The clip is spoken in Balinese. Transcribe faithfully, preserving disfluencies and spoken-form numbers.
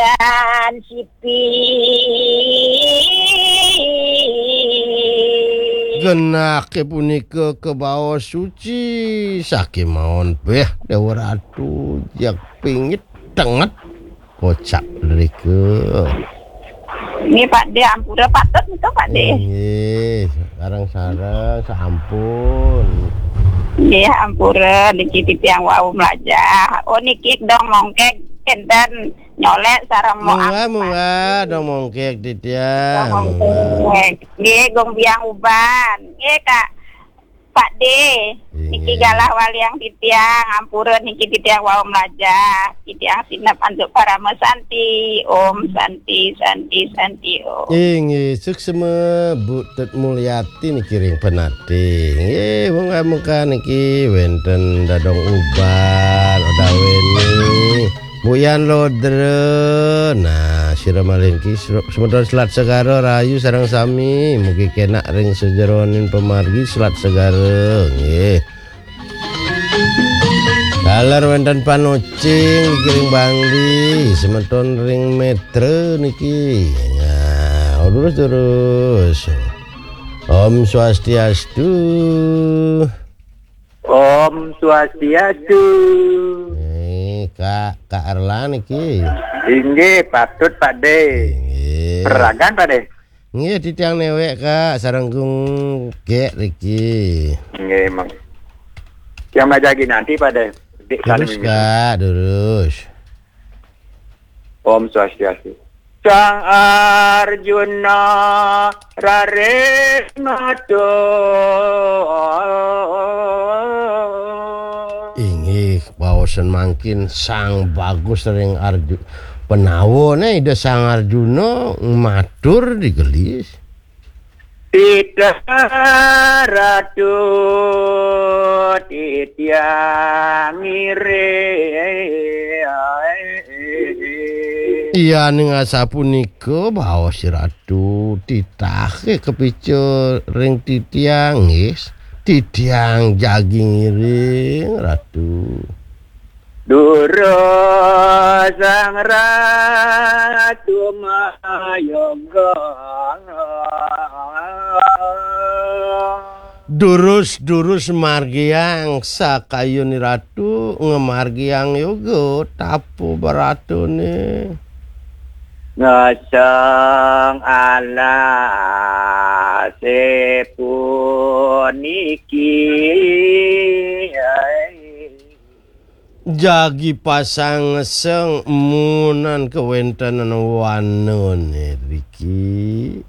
Tan sipi. Genahé punika kabaos suci, sakémaon béh Déwa Ratu, jak pingit tenget kocap drika. Nggih, Pak Dé, ampura patut nika, Pak Dé. Nggih, sareng-sareng sampun. Nggih, ampura niki titiang wau mlajah. Oh, niki dong mongkeg enten nyolek sareng mo Munggah, munggah, dong mongkeg titiang. Dong mongkeg. Nggih, Gung Biang Uban. Nggih, Kak. Pak Dé, niki galah waliang titiang, ampura niki titiang wau mlajah, titiang sinep antuk parama santi. Om Santi, Santi, Santi, Om. Inggih, suksma Bu Tut Mulyati niki ring Penatih. Inggih, muka-muka niki wénten Dadong Uban, Odaweni. Buyan Lodra. Nah, sira malih niki sru-, semeton Selat Segara rahayu sareng sami. Mugi kenak ring sajeroning pamargi Selat Segara. Nggih. Taler wénten Panocing niki ring Bangli, semeton ring Metra niki. Nah, terus, terus. Om Swastiastu. Om Swastiastu. Eh, Kak, Kak Erla niki. Inggih, patut, Pak Dé. Inggih. Ragan, Pak Dé. Nggih, titiang néwék, Kak, sareng Gung Gék niki. Nggih, Mang. Yang majagi nanti, Pak Dé. Dik. Terus, saling Kak, terus. Om Swastiastu. Sang Arjuna raris matur. Inggih, baosan mangkin Sang Bagus ring Arju-, Pandawa, né Ida Sang Arjuna matur digelis. Titah Ratu titiang ngiring. Yaning asapunika baos Ratu, titahé kapica ring titiang, nggih. Titiang jagi ngiring, Ratu. Durus Sang Ratu mayoga. Durus, durus margiang sakayun Ratu, ngamargiang yoga tapu baratuné. Ngeseng alasé puniki. Jagi pasang ngeseng munan kawéntenan wanané riki.